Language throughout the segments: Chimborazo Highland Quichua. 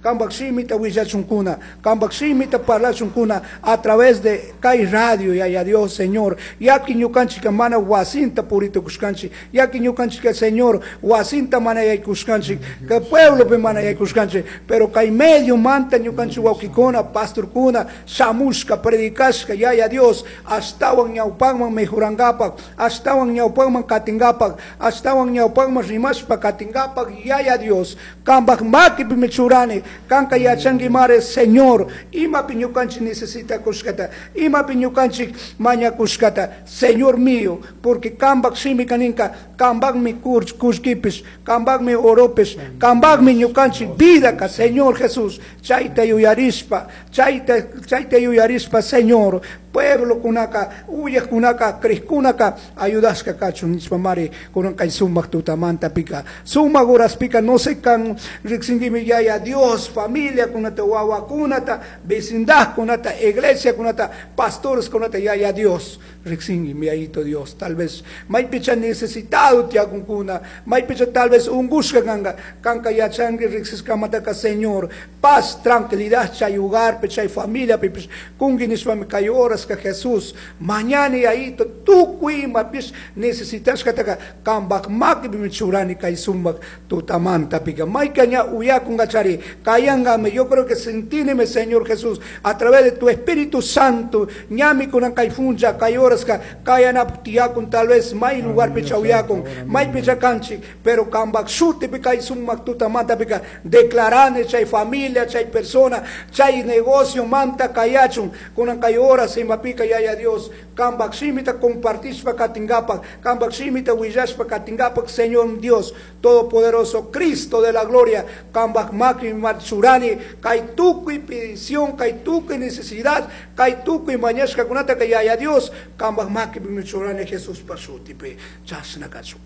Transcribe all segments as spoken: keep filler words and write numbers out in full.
Kambak shimita willachunkuna, kambak shimita parlachunkuna a través de kay radio, Yaya Dios, Señor. Yaki ñukanchika mana wasinta puritukushkanchik, yaki ñukanchika, Señor, wasinta mana yaykushkanchik, kay pueblopi mana yaykushkanchik, pero kay medio manta ñukanchik wawkikuna, pastorkuna, shamushka, predicashka, Yaya Dios, ashtawan ñawpanman mejorangapak, ashtawan ñawpanman katingapak, ashtawan ñawpanman rimashpa katingapak, Yaya Dios, kambak makipimi churani, kanka yachanki mare, Señor, imapi ñukanchik necesitakushkata, imapi ñukanchik mañakushkata, Señor mío, porque kambak shimika ninka, kambakmi kullkipish, kambakmi oropish, kambakmi ñukanchik vidaka, Señor Jesús, chayta yuyarishpa, chayta, chayta yuyarishpa, Señor, pueblo kunaka, uyakunaka, crishkunaka, ayudashka kachun nishpa mari, kunan kay sumak tutamanta pika, sumak horaspika, no sé kan riksinkimi Yaya Dios, familia kunata, wawakunata, vecindad kunata, iglesia kunata, pastores kunata, Yaya Dios, riksinkimi Yayito Dios, tal vez maypicha necesitado tiyakunkuna, maypicha tal vez ungushka kanka, kanka yachanki riksishkamataka, Señor, paz, tranquilidad chay hogarpi, chay familia pipish, kunki nishpami kay horas ka Jesús, mañana Yayito, tukuy imapish necesitashkataka, kambak makipimi churani kay sumak tutamanta pika, mayka ña uyakunkachari, kayangame, yo creo que sentíneme, Señor Jesús, a través de tu Espíritu Santo, ñami kunan kay funcha, kay horaska, kayanap tiyakun, tal vez may lugar picha uyakun, may picha kanchik, pero kambak shutipi kay sumak tutamanta pika, declarane chay familia, chay persona, chay negocio, manta kayachun, kunan kay horas imapika Yaya Dios, kambak shimita compartishpa katingapak, kambak shimita willashpa katingapak, Señor Dios Todopoderoso, Cristo de la gloria, kambak maki marchurani, kay tukuy petición, kay tukuy necesidad, kay tukuy mañashka kunata kay Yaya Dios, kambak maki churani Jesús pashutipi, chashna kachu.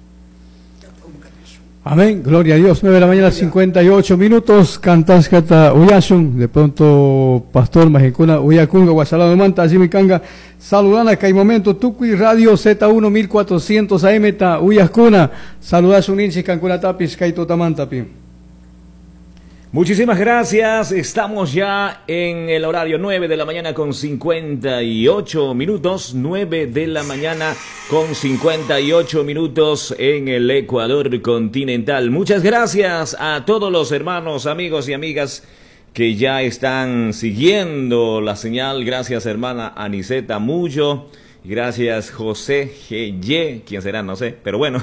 Amén, gloria a Dios. nueve de la mañana, cincuenta y ocho minutos. Cantashkata uyashun. De pronto, pastor Majincuna, uyakunga, guasalado manta, allí mi kanga. Saludana, que hay momento, Tukuy Radio Z uno mil cuatrocientos A M ta uyaskuna. Saludashun inchi, cancuna tapis, kaito tamantapi. Muchísimas gracias. Estamos ya en el horario nueve de la mañana con cincuenta y ocho minutos. nueve de la mañana con cincuenta y ocho minutos en el Ecuador continental. Muchas gracias a todos los hermanos, amigos y amigas que ya están siguiendo la señal. Gracias, hermana Aniceta Mullo. Gracias, José G Y, quién será, no sé, pero bueno,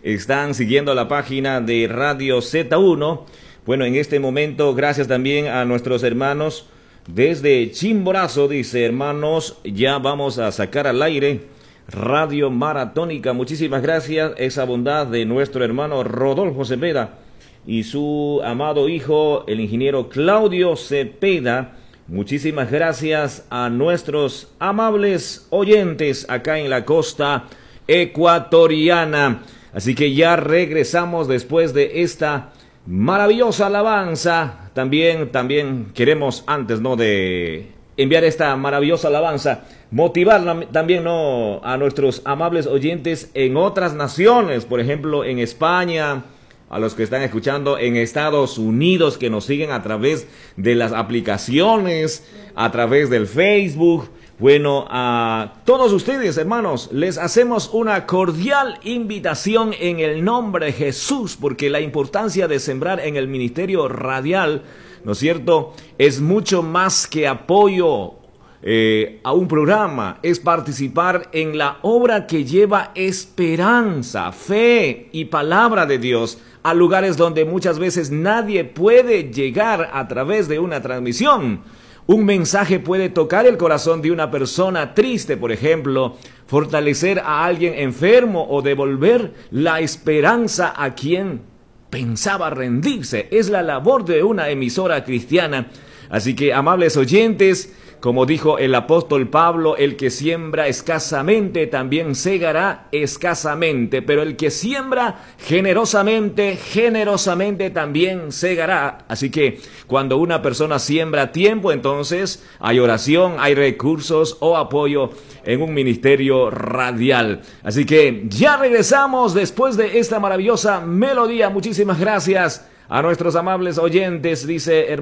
están siguiendo la página de Radio Z uno. Bueno, en este momento, gracias también a nuestros hermanos desde Chimborazo, dice, hermanos, ya vamos a sacar al aire Radio Maratónica. Muchísimas gracias, esa bondad de nuestro hermano Rodolfo Cepeda y su amado hijo, el ingeniero Claudio Cepeda. Muchísimas gracias a nuestros amables oyentes acá en la costa ecuatoriana. Así que ya regresamos después de esta maravillosa alabanza. También, también queremos, antes, ¿no?, de enviar esta maravillosa alabanza, motivar también, ¿no?, a nuestros amables oyentes en otras naciones, por ejemplo en España, a los que están escuchando en Estados Unidos, que nos siguen a través de las aplicaciones, a través del Facebook. Bueno, a todos ustedes, hermanos, les hacemos una cordial invitación en el nombre de Jesús, porque la importancia de sembrar en el ministerio radial, ¿no es cierto?, es mucho más que apoyo, eh, a un programa, es participar en la obra que lleva esperanza, fe y palabra de Dios a lugares donde muchas veces nadie puede llegar a través de una transmisión. Un mensaje puede tocar el corazón de una persona triste, por ejemplo, fortalecer a alguien enfermo o devolver la esperanza a quien pensaba rendirse. Es la labor de una emisora cristiana. Así que, amables oyentes, como dijo el apóstol Pablo, el que siembra escasamente también segará escasamente, pero el que siembra generosamente, generosamente también segará. Así que cuando una persona siembra tiempo, entonces hay oración, hay recursos o apoyo en un ministerio radial. Así que ya regresamos después de esta maravillosa melodía. Muchísimas gracias a nuestros amables oyentes, dice hermano.